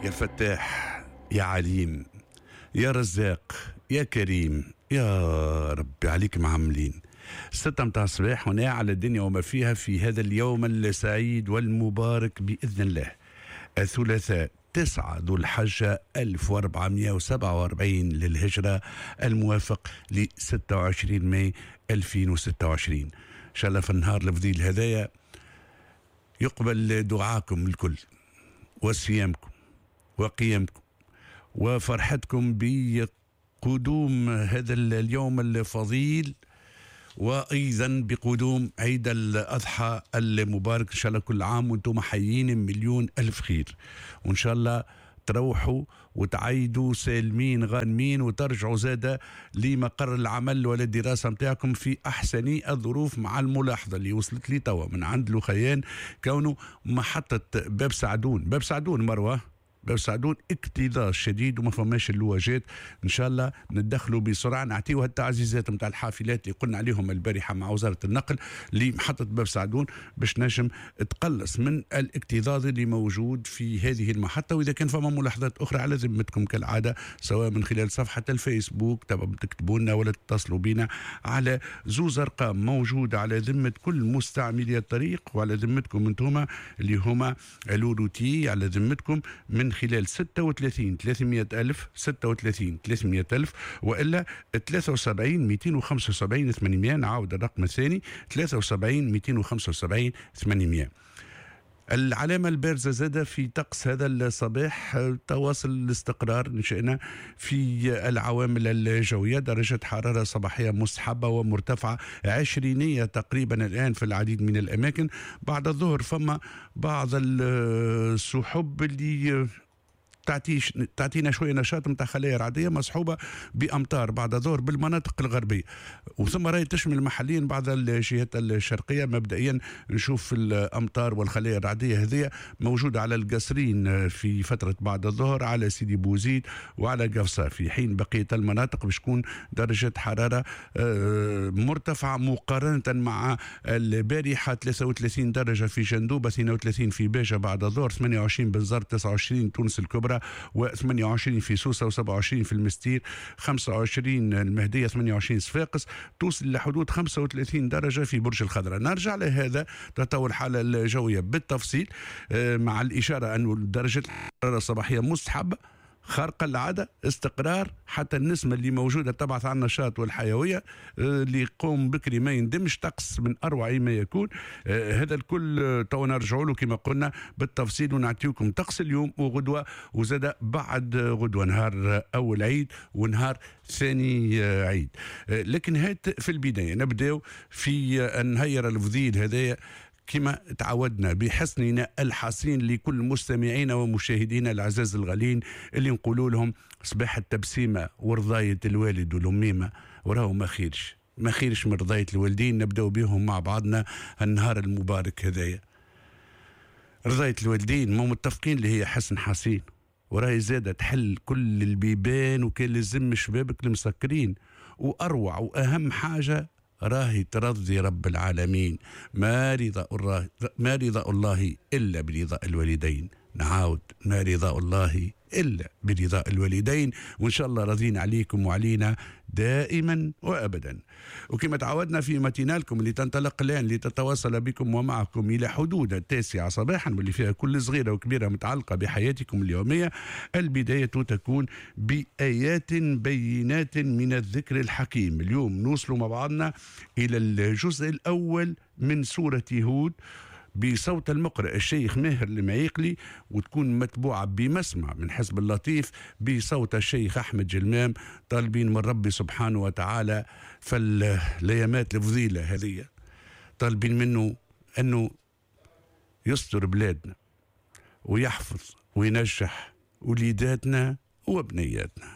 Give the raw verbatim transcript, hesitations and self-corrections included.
يا فتاح يا عليم يا رزاق يا كريم يا ربي عليك معاملين. ستة متاع الصباح هنا على الدنيا وما فيها في هذا اليوم السعيد والمبارك بإذن الله، الثلاثاء تسعة ذو الحجة ألف وأربعمائة وسبعة وأربعين للهجرة، الموافق ل ستة وعشرين ماي ألفين وستة وعشرين. إن شاء الله في النهار الفضيل هذايا يقبل دعاكم الكل وصيامكم وقيامكم وفرحتكم بقدوم هذا اليوم الفضيل، وأيضا بقدوم عيد الأضحى المبارك. إن شاء الله كل عام وأنتم حيين مليون ألف خير، وإن شاء الله تروحوا وتعيدوا سالمين غانمين وترجعوا زادة لمقر العمل ولا الدراسة متاعكم في أحسن الظروف، مع الملاحظة اللي وصلت لي توا من عند لخيان كونه محطة باب سعدون، باب سعدون مروة، باب سعدون اكتظاظ شديد وما فماش اللواجات. ان شاء الله ندخلوا بسرعة نعطيوها التعزيزات نتاع الحافلات اللي قلنا عليهم البارحة مع وزارة النقل لمحطه باب سعدون باش نجم تقلص من الاكتظاظ اللي موجود في هذه المحطة. واذا كان فما ملاحظات اخرى على ذمتكم كالعادة، سواء من خلال صفحة الفيسبوك تكتبوا لنا ولا تتصلوا بنا على زوز ارقام موجودة على ذمه كل مستعملي الطريق وعلى ذمتكم انتم اللي هما الوروتي، على ذمتكم من خلال ستة وثلاثين ثلاثمائة ألف، ستة وثلاثين ثلاثمائة ألف، وإلا ثلاثة وسبعين مئتين وخمسة وسبعين ثمانمائة. نعاود الرقم الثاني ثلاثة وسبعين مئتين وخمسة وسبعين ثمانمائة. العلامة البارزة زادة في طقس هذا الصباح تواصل الاستقرار نشأنا في العوامل الجوية، درجة حرارة صباحية مستحبة ومرتفعة عشرينية تقريبا الآن في العديد من الأماكن. بعد الظهر فما بعض السحب اللي تعطيش تعطينا شوية نشاط نتاع خلايا رعديه مصحوبه بامطار بعد الظهر بالمناطق الغربية، وثم راهي تشمل محليا بعض الجهات الشرقية. مبدئيا نشوف الامطار والخلايا الرعديه هذه موجودة على القصرين في فترة بعد الظهر، على سيدي بوزيد وعلى قفصه، في حين بقية المناطق باش تكون درجه حرارة مرتفعة مقارنة مع البارحة، ثلاثة وثلاثين درجه في جندوبه، اثنين وثلاثين في باجه بعد الظهر، ثمانية وعشرين بنزرت، تسعة وعشرين تونس الكبرى، وثمانية وعشرين في سوسة، وسبعة وعشرين في المستير، خمسة وعشرين المهدية، ثمانية وعشرين صفاقس، توصل لحدود خمسة وثلاثين درجة في برج الخضراء. نرجع لهذا تطور الحالة الجوية بالتفصيل مع الإشارة أن درجة الحرارة الصباحية مستحبة خارقة العادة، استقرار، حتى النسمة اللي موجودة تبعث على النشاط والحيوية، اللي يقوم بكري ما يندمش، طقس من أروع ما يكون. هذا الكل تو نرجعوا له كما قلنا بالتفصيل ونعطيكم طقس اليوم وغدوة، وزاد بعد غدوة نهار أول عيد ونهار ثاني عيد. لكن هات في البداية نبداو في النهير الفضيل هذايا كما تعودنا بحسننا الحصين لكل مستمعينا ومشاهدينا العزاز الغالين اللي نقولوا لهم صباح التبسيمة ورضاية الوالد والأميمة، وراهو ما خيرش ما خيرش من رضاية الوالدين. نبداو بهم مع بعضنا النهار المبارك هذايا. رضاية الوالدين ما متفقين اللي هي حسن حصين، وراهي زادة تحل كل البيبان وكان لازم شبابك المسكرين، وأروع وأهم حاجة راهي ترضي رب العالمين. ما رضاء الله ما رضاء الله إلا برضاء الوالدين. نعاود، ما رضاء الله إلا برضاء الوالدين، وإن شاء الله راضين عليكم وعلينا دائما وأبدا. وكما تعودنا في ماتينالكم اللي تنطلق الآن لتتواصل بكم ومعكم إلى حدود التاسعة صباحا، واللي فيها كل صغيرة وكبيرة متعلقة بحياتكم اليومية، البداية تكون بآيات بينات من الذكر الحكيم. اليوم نوصل مع بعضنا إلى الجزء الأول من سورة هود بصوت المقرئ الشيخ ماهر المعيقلي، وتكون متبوعة بمسمع من حزب اللطيف بصوت الشيخ أحمد جلمام، طالبين من ربي سبحانه وتعالى فالأيامات الفضيلة هذه، طالبين منه أنه يستر بلادنا ويحفظ وينجح وليداتنا وبنياتنا.